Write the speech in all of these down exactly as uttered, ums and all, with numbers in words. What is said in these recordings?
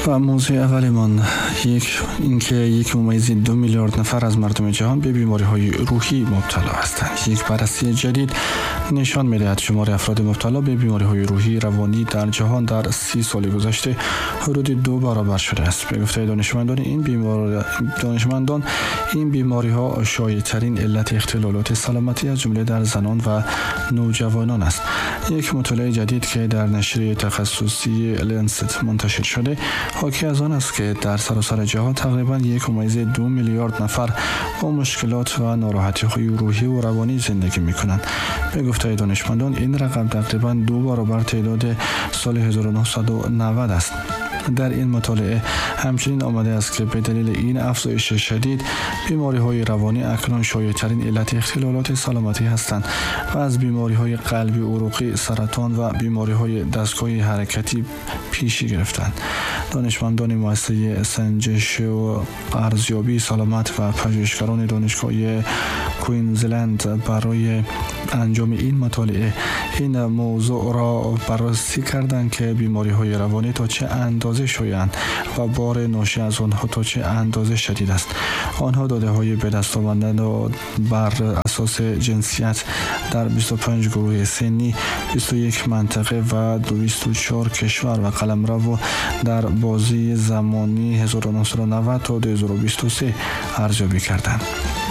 و موضوع اولمان یک اینکه یک ممیز دو میلیارد نفر از مردم جهان به بیماری های روحی مبتلا هستند. یک بررسی جدید نشان می‌دهد شمار افراد مبتلا به بیماری های روحی روانی در جهان در سی سال گذشته حدود دو برابر شده است. به گفته دانشمندان این بیمار دانشمندان این بیماری ها شایع ترین علت اختلالات سلامتی از جمله در زنان و نوجوانان است. یک مطالعه جدید که در نشریه تخصصی لنست منتشر شده حاکی از آن است که در سراسر جهان تقریباً یک ممیز دو میلیارد نفر با مشکلات و ناراحتی‌های روحی و روانی زندگی می‌کنند. به گفته دانشمندان این رقم تقریباً دو برابر تعداد سال هزار و نهصد و نود است. در این مطالعه همچنین آمده است که به دلیل این افزایش شدید بیماری‌های روانی اکنون شایع‌ترین علت اختلالات سلامتی هستند و از بیماری‌های قلبی عروقی، سرطان و بیماری‌های دستگاه حرکتی پیشی گرفتند. دانشمندان مؤسسه سنجش و ارزیابی سلامت و پژوهشگران دانشگاه کوینزلند برای انجام این مطالعه این موضوع را بررسی کردند که بیماری‌های روانی تا چه اندازه شایع‌اند و بار ناشی از آنها تا چه اندازه شدید است. آنها داده‌های به دست آمده را بر اساس جنسیت در بیست و پنج گروه سنی، بیست و یک منطقه و دویست و چهار کشور و قلمرو در بازی زمانی هزار و نهصد و نود تا دو هزار و بیست و سه ارزیابی کردند.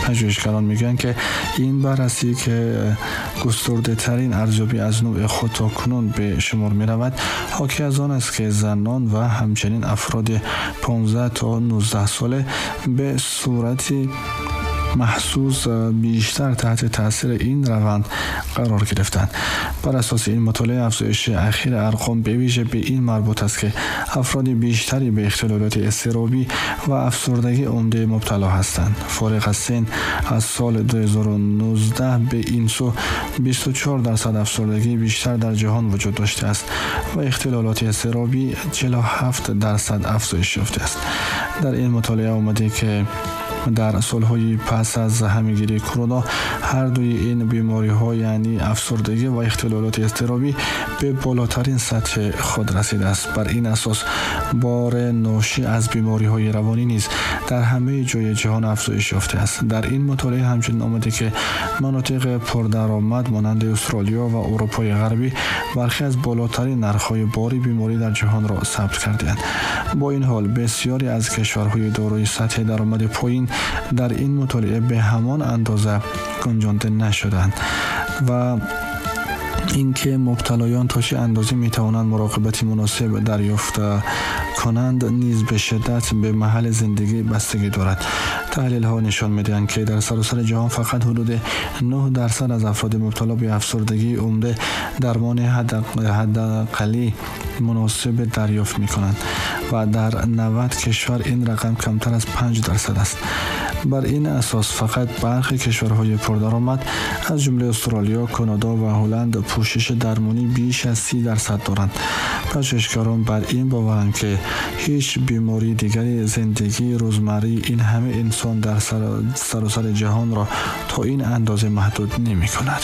پژوهشگران میگن که این بررسی که گسترده ترین ارزیابی از نوع خود تا کنون به شمار می رود حاکی از آن است که زنان و همچنین افراد پانزده تا نوزده ساله به صورت محسوس بیشتر تحت تاثیر این روند قرار گرفتند. بر اساس این مطالعه افزایش اخیر ارقام به ویژه به این مربوط است که افراد بیشتری به اختلالات اضطرابی و افسردگی عمده مبتلا هستند. فارغ از سن از سال دو هزار و نوزده به این سو بیست و چهار درصد افسردگی بیشتر در جهان وجود داشته است و اختلالات اضطرابی چهل و هفت درصد افزایش یافته است. در این مطالعه آمده که در سالهای پس از همه‌گیری کرونا هر دوی این بیماری‌ها یعنی افسردگی و اختلالات اضطرابی به بالاترین سطح خود رسیده است. بر این اساس بار ناشی از بیماری‌های روانی نیز در همه جای جهان افزایش یافته است. در این مطالعه همچنین آمده که مناطق پردرآمد مانند استرالیا و اروپای غربی برخی از بالاترین نرخ‌های بار بیماری در جهان را ثبت کرده‌اند. با این حال بسیاری از کشورهای دارای سطح درآمد پایین در این مطالعه به همان اندازه گنجانده نشدند و اینکه مبتلایان تا چه اندازه میتوانند مراقبت مناسب دریافت کنند نیز به شدت به محل زندگی بستگی دارد. تحلیل ها نشان میدهند که در سراسر جهان فقط حدود نه درصد از افراد مبتلا به افسردگی عمده درمان حداقلی مناسب دریافت میکنند و در نود کشور این رقم کمتر از پنج درصد است. بر این اساس فقط برخی کشورهای پردرآمد از جمله استرالیا، کانادا و هلند پوشش درمانی بیش از سی درصد دارند. پژوهشگران بر این باورند که هیچ بیماری دیگری زندگی روزمره این همه انسان در سراسر جهان را تا این اندازه محدود نمی کند.